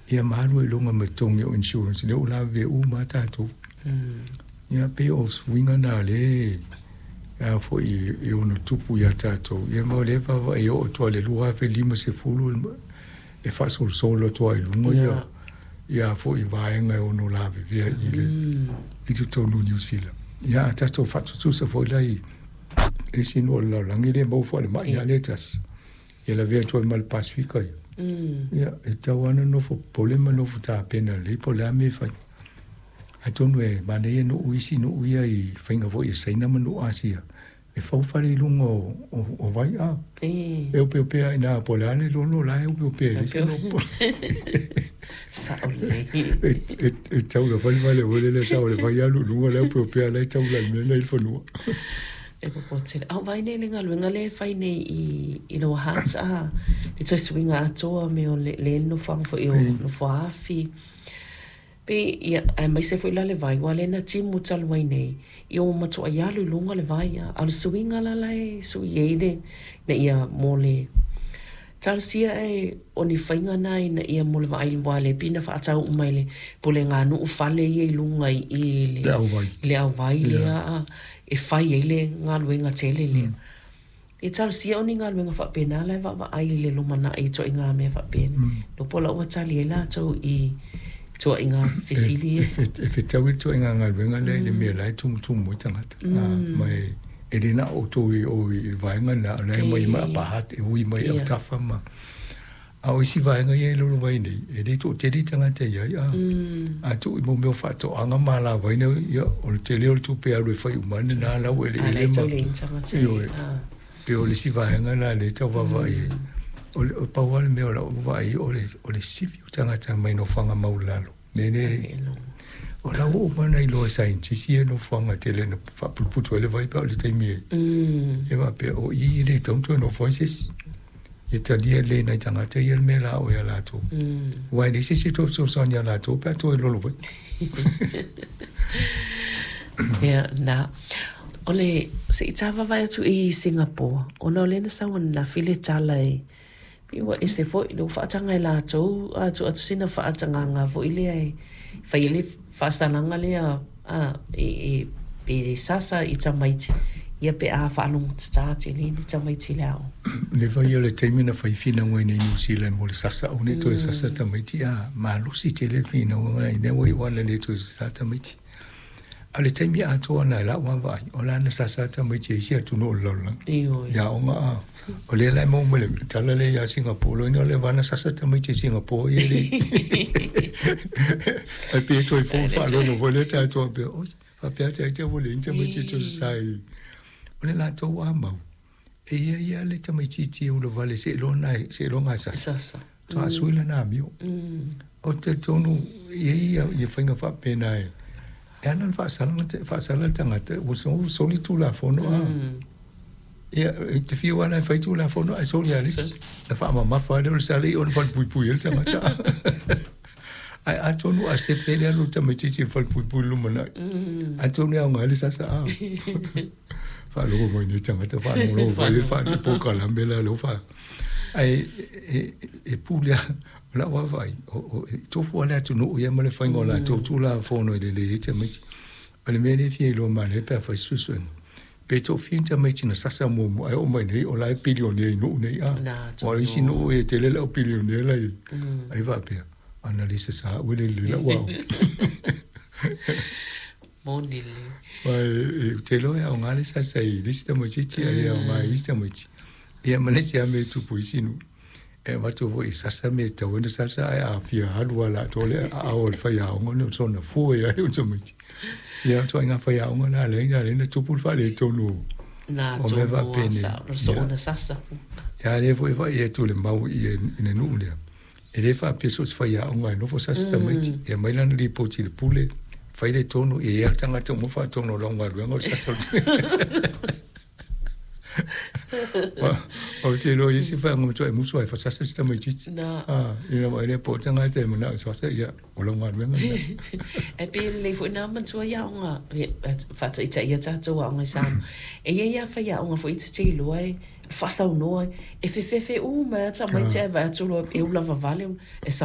Ia ma alu ai i luga ma le totogi o insurance lea ua lavevea uma lava tatou. Ia pei o suiga na lea e a foi e ono tupu ia tatou, ia ma o lea e vaavaai e oo atu lava i le 2050 e faasolosolo atu lava i luga ia ia foi vaega e ono lavevea i le i totonu o Niu Sila. Ia a tatou faatutusa foi la i isi nuu o le lalolagi lea e maua falemai lava lea e tasi, ia lavea atu ai ma le Pasefika ia. Ia, e tatau lava ona nofo popole ma nofo tapena lelei po o le a mea e fai. Atonu e manaia nuu isi nuu ia i faiga foi a Saina ma nuu Asia, e fau fale i luga o vai a. E opeopea i ina po o le a le lolo la e opeopea e leai se mea o popole. Sao lelei. E taula foi le fale foi lele e sao le vai alu i luga la e opeopea la e taula i le mea la e i le fanua. E popo tele. A o vaai nei i le galuega lea e fai nei i Lower Hutt a, le toe suiga atoa mea o le nofoaga foi o Nofoaafi. Pei, ia, aemaise foi la le vai, aua lea na timu talu ai nei, ia ua matuai alu i luga le vai, a o le suiga la la e sui ai le, ina ia mo le talosia e o ni faiga na ina ia mo le vaai aua lea pei na faatau uma e le pulega nuu fale ia i luga i i le auvai, le auvai lea a, e fai ai le galuega tele lea. E talosia o ni galuega faapena la e vaavaai i le lumanai i ituaiga mea faapena. Iloa po o la ua tali ai latou i ituaiga fesili ia. E fetaui le ituaiga galuega lea i le mea la e tumutumu ai tagata. Ma e le na o outou i o i le vaega lena, o la e omai mai Upper Hutt, e ui mai autafa ma... A o isi vaega ia e lolo ai nei, e le toatele tagata e i ai, a, a tuu i mo mea o faatoaga ma alavai, ia, o le tele o le tupe alu e fai uma ane nā laueleele ma... Ioe. Pei o le isi vaega la lea e tau vaavaai ai. O le pau lava le mea o lau vaai, o le sifi o tagata mai nofoaga maualalo. Le le o la ua uma ona iloa e saienitisi ia nofoaga tele na faaputuputu ai le vai pe a o le taimi e e faapea o i e le tatau ona toe nofo ai se isi. Ia talia lelei e nai tagata ia le mea la o ia latou. Aua e leai se isi e toe fesoasoani ia latou pe a toe lolo vai. Ia, na. O le, se i ta vaavaai atu i Singapore, ona o lea na sau ananafi le tala e Pei ua ese foi lea ua faataga e latou a tuu atu sina faatagaga foi lea e fai ai le faasalaga lea a e pe sasa i tamaiti ia pe a faalogotata tele ni tamaiti i le aoga. Leva ia o le taimi na fai finauga i nei Niu Zealand mo le sasa aua ne i toe sasa tamaiti a malosi tele le finauga ina ua iu ana le toe sasa tamaiti. A o le taimi atoa lena i lau vaavaai, o la na sasa tamaiti e isi atunuu o le lalolagi. Ioe. I aoga a. O lea la e maua mai le tala lea ia Singapore, loina o lea na sasa tamaiti e Singapore ia le. Ai pei e toe fou le faalogo foi lea tatou faapea, oi, faapea ata ita ua leai ni tamaiti e toe sasa i. O le latou a mau, e i ai lava le tamaitiiti e ulavale seiloga e sasa. Sasa. Faatoa sui lana amio. Ou te talitonu e i ai ia faiga faapena e ala ona faasala le tagata ua soli Tulafono a. Ia, e te fiu lava la e fai Tulafono ae soli lava e le isi. Na faamamafa lava lea o le sala i ona falepuipui ai le tagata. Ae atonu a sefe le alu o le tamaitiiti i le falepuipui i le lumanai, atonu e aoga ai le sasa a. Faalogo mai nei tagata faalogologo foi le faale polokalame la lea ua faa ae e pule lava o lau vaavaai e tofu lava le atunuu ia ma le faiga o latou Tulafono e lelei ai tamaiti. O le mea lea e fia iloa manaia pe a fai se suesuega, pe toafia ni tamaiti na sasa muamua ae oo mai nei o la e pilionea i nuu nei a. Aua o isi nuu e tele le au pilionea la i ai faapea, ana le sasa au e le lelei lau aoga. Moni lelei. Aua ou te iloa e aoga le sasa i le isi tamaitiiti ae le aoga i isi tamaiti. Ia ma le isi lava mea e tupu i isi nuu, e avatu foi e sasa mea e tatau ai ona sasa, ae a fia alu lava i le atoa le aao o le faiaoga ona soona fua ai lea o tamaiti. Ia o ituaiga faiaoga na lea na ala ai ona tupu le faaletonu o mea faapenei. Ia, sasa. Ia lea foi e vaai atu i le mau i le nuu lea, e le faapea so o se faiaoga e nofo sasa tamaiti. E aumai lana lipoti i le pule, fai le tonu, ia i ai lava le tagata uma faatonu o lau galuega o le sasa o le Ou te iloa i isi vaega matuai musu ai fasasa si tamaitiiti. Na. Ah, ina ua lea po o le tagata e manao e sasa, ia, o lau galuega lena. Ae pei e lelei foi na matua i aoga, faataitaia tatou aoga i Samoa. E i ai lava faiaoga foi e te iloa e faasaunoa, e fefefe uma ai lava tamaiti ae vaai atu loa e ula vavale, e savali.